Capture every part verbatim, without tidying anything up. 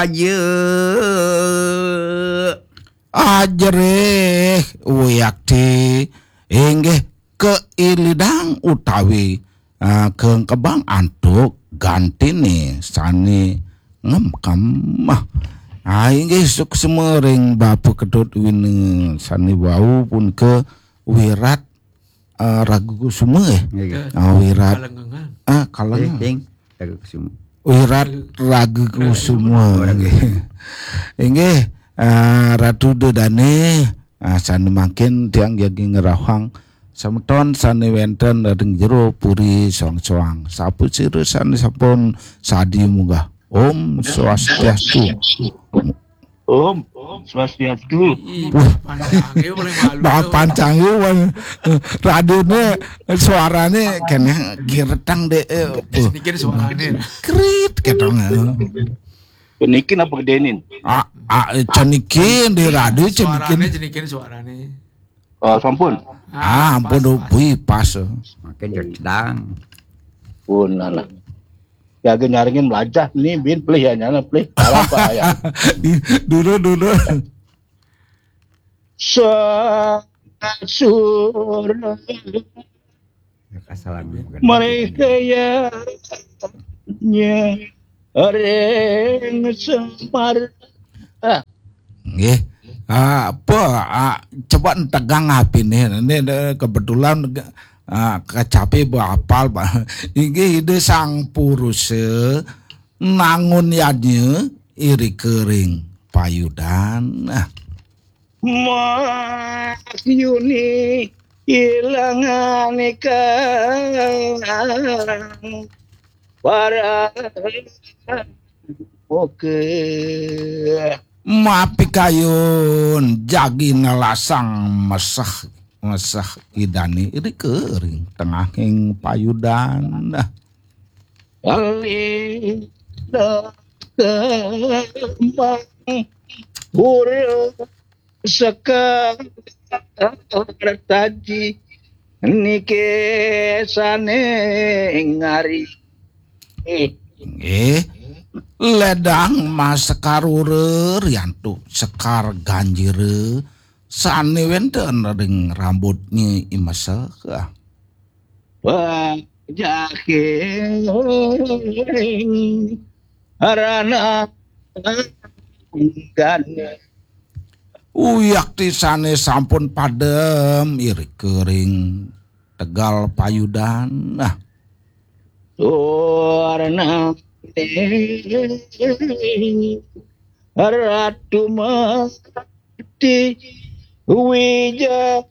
Aja. Ajerih, Wiakti, inggih keilidang utawi, ah, kengkebang antuk gantine sane ngemkem. Ah, inggih suksma ring Bapa Ketut Wina sane wau punika Wirat, ah, Ragu Kusuma, eh. Nggih. Ah, Wirat. Kalengengan. Ah, Kalengengan. Nggih, King. Ragu Kusuma. Wirat Ragu Kusuma, nggih. Inggih, ah, Ratu Dedane, ah, sane mangkin tiang jagi ngrauhang semeton sane wenten ring jero puri Soang-Soang. Sapasira sane sampun sadi munggah. Om Swastiastu. Om Swastiastu. Ih, pancange paling malu. Ba-, pancange, wan. Radione suarane kene giretang, Dek. Eh, Wis niki suarane. Krit ketong. Niki napa gedenin? Ah, ah, cenikin di radio, cenikin. Suarane, cenikin suarane. Oh, sampun. Ah, ampun, pas, pas. Bui, pas. Makin jedang. Pun, alah. Ya, ge nyarengin melajah ni, bin, pelih ya, nyana, pelih. Apa ya? Dulu, dulu. Sa-, sur-, Mereka ya ring Semar. Ah. Nggih. Ah, apa, ah, coba entegang apine. Ini, ini kebetulan, ah, kecapi ba apal, Pak. Inggih Ida Sang Purusa nangun yadnya irika ring payudan. Ah. Mahyuni ilanganikang para oke. Mapikayun jagi nelasang meseh, meseh idane irika ring tengahing payudan. Kali kembang burung Sekar taji niki sane ngari. Nggih. Ledang Mas Sekar Ura riantuk Sekar Ganjira sane wenten ring rambutnya imesek. Pajahing rana dan uyakti sane sampun padem irika ring tegal payudan. Nah. Warna Ratu Mati Wija.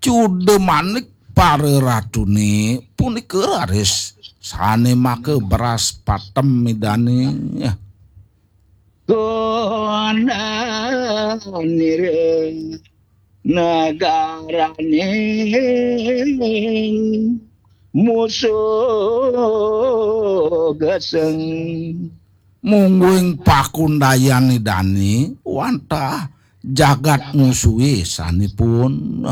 Cuda manik para ratune punika raris sane maka beras patem idane. Konanira negaraning musuh geseng. Mungguing pakundayan idane wantah jagat musuhe sanipun.